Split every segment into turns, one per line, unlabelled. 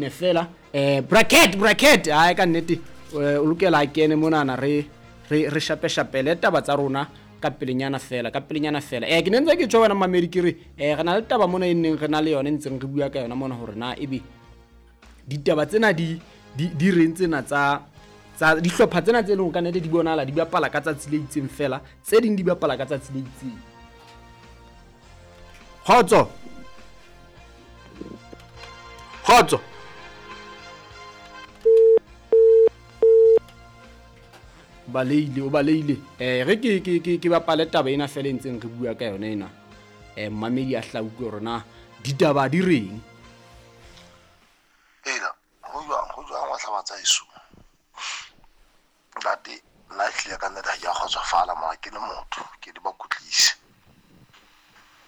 kene fela. Bracket, bracket, hae ka nnete o lokela a kene monana re re re shapeshapele taba tsa rona ka pelenyana fela, ka pelenyana fela. Ke ne ntse ke tjho wena mamedi ke re re na le taba mona e neng re na le yona e ntseng re bua ka yona mona hore na ebe ditaba tsena di di di reng tsena tsa tsa dihlopha tsena tse leng ka nnete di bonahala di bapala ka tsatsi le itseng fela, tse ding di bapala ka tsatsi le itseng. Kgotso. Kgotso. Baleile, o baleile. Re ke ke ke ke bapale taba ena fela e ntseng re bua ka yona ena. Mmamedi a hla utlwe hore na ditaba di reng.
Ela, ho jwang, ho jwang wa hlaba tsa heso. Ntate, nna ehlile ka nnete ha ke a kgotsofala mara ke le motho, ke le bakutlise.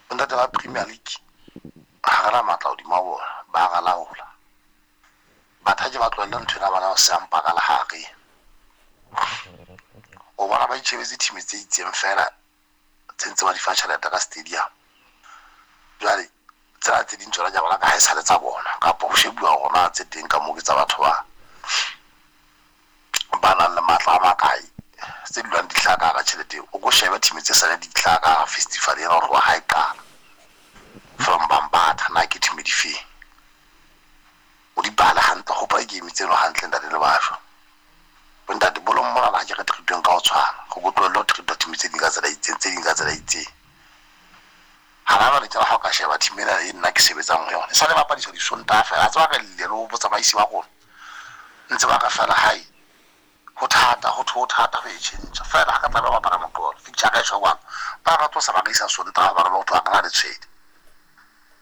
Bontate ba Premier League ha re na matla hodima bona, ba ra laola. But ha ke ba tlohelle ntho ena bana ba seyang paka le hare. O bona ba itjhebetse team tse itseng fela tse ntse ba di fa tjhelete ka stadium. Jwale tsena tse ding tsona ke a bona ka ha e sale tsa bona kapa ho shebuwa hore na tse teng ka moo ke tsa batho ba ba nang le matla a makae tse dulang di hlaha ka hara tjhelete eo. O ko shebe team tse sale di hlaha ka hara festival ena ho tloha ha e qala from Bambatha na ke team di feng. O di bale hantle, hopola game tseno hantle ntate le bajwa. Bontate bolong mona ha ke re treatweng ka ho tshwana. Go ko tlohelle ho treatwa team tse ding ka tsela e itseng, tse ding ka tsela e itseng. Hana jwale tjena ha o ka sheba team ena e nna ke sebetsang ho yona. E sale bapadiswa Disontaha fela. A tseba re llile le ho botsamaisi ba rona. Ntse ba re fela hai ho thata, ho thwe ho thata ho e tjhentjha. Fela ha re tlameha ho bapala Moqebelo, fixture ka e tjho jwalo. Ba re tlosa ba re isa Sontaha hobane ba ho thwe ha re na letshwele.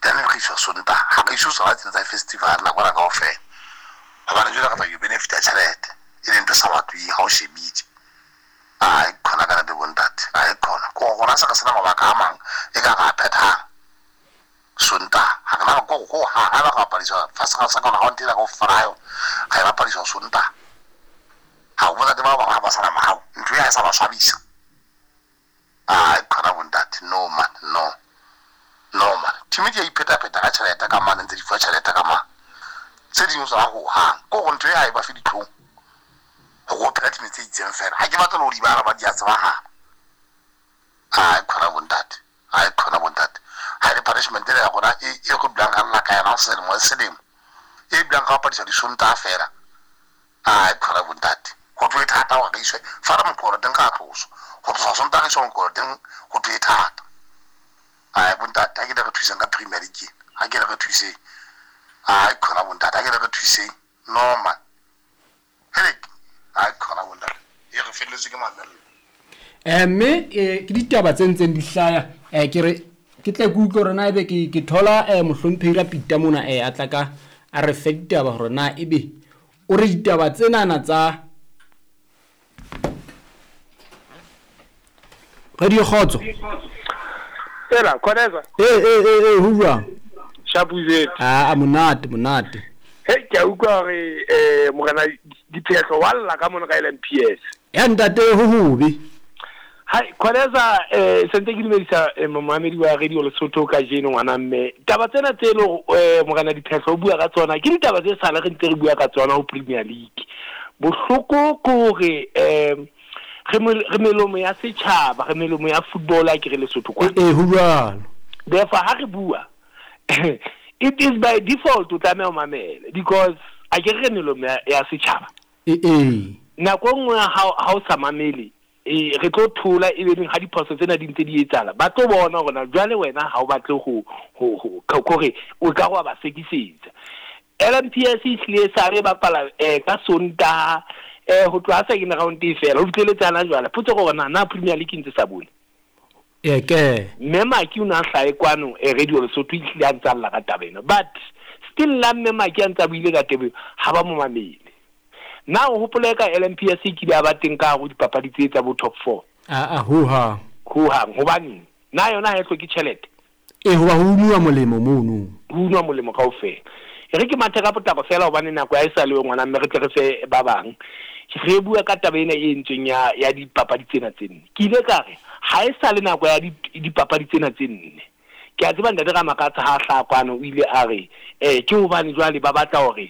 Then re iswa Sontaha, ha re iswe tsona tsena tsa festival nako ena kaofela. Hobane jwale re tla yo benefita tjhelete e leng ntho e sa batlweng ha o shebile. Ai khona ka nnete bontate, ai khona. Ke hore rona se re sena mabaka a mang e ka re a phethang Sontaha. Ha re na ko ho hang haeba re bapadiswa first round, second round ena kaofela ha yona re e bapadiswa Sontaha. Ha o bontate ba bang ha ba sa na mohau, ntho e ha e sa ba swabisa. Ai khona bontate, no man, no. No man, team di a iphetapheta ka tjhelete ka mane ntse di fuwa tjhelete ka mane. Tse ding tsona ho hang. Ke hore ntho e ha e ba fe ditlhong. Hore o phela team tse itseng fela. Ha ke batle le ho di bala ba di a tsebahala. Ai khona bontate, ai khona bontate. Ha e le punishment ena ya rona e e re dulang re lla ka yona selemo le selemo. E dulang re bapadiswa Disontaha fela. Ai khona bontate. Ho thwe e thata hore re iswe fana Moqebelo teng ra tloswa. Ho tloswa Sontaha re iswa Moqebelo teng ho thwe e thata. Ai bontate ha ke le re thuseng ka Premier League ena. Ha ke le re thuseng. Ai khona bontate ha ke le re thuseng. No man. Helek. Ai khona bontate. E re felletswe ke mamello.
Mme ke ditaba tse ntseng di hlaya ke re ke tle ke utlwe hore na ebe ke ke thola mohlomphehi Rapita mona a tla ka a re fe ditaba hore na ebe o re ditaba tsenana tsa Radio Kgotso.
Ela, Khoneza.
Eh eh eh eh ho jwang?
Shapuzet.
Ah, monate monate.
Hey, ke a utlwa hore eh morena Diphehlo wa lla ka mona ka LMPS.
Ya ntate ho hobe.
Hai Khoneza eh sentse ke dumedisa eh, momamedi wa Radio Lesotho kajeno ngwana mme. Taba tsena tse le eh morena Diphehlo o bua ka tsona ke ditaba tse sale re ntse re bua ka tsona ho Premier League. Bohloko ke hore eh re re melomo ya setjhaba, re melomo ya football a ke re Lesotho kwana.
Eh ho jwalo.
Therefore ha re bua it is by default o tlameha o mamele because a ke re melomo ya setjhaba.
Eh eh.
Nako e nngwe ha o sa mamele e re tlo thola e be ha diphoso tsena di ntse di etsahala ba tlo bona hore na jwale wena ha o batle ho ho ho kore o ka wa ba sekisetsa. LMPS e hlile sa re bapala ka Sontaha ho tloha second round e fela ho fihleletse hana jwale. Potso ke hore na na Premier League ntse sa bone.
E ke.
Mme Maki o ne a hlahe kwano Radio Lesotho e hlile a ntsa lla ka taba ena but still la Mme Maki a ntsa buile ka taba eo ha ba mo mamele. Na o hopole ka LMPS e kile ya ba teng ka hare ho dipapadi tse tsa bo top 4?
Ah ah ho hang.
Ho hang hobaneng? Na yona ha e hloke tjhelete?
E hoba ho unwa molemo mono.
Ho unwa molemo kaofela. E re ke mathe ka potlako fela hobane nako ya e sa le ngwana mme re tle re fe ba bang. Re bua ka taba ena e entsweng ya ya dipapadi tsena tse nne. Ke ile ka re ha e sa le nako ya dipapadi tsena tse nne. Ke a tseba ntate Ramakatsa ha hlaha kwano o ile a re eh ke hobane jwale ba batla hore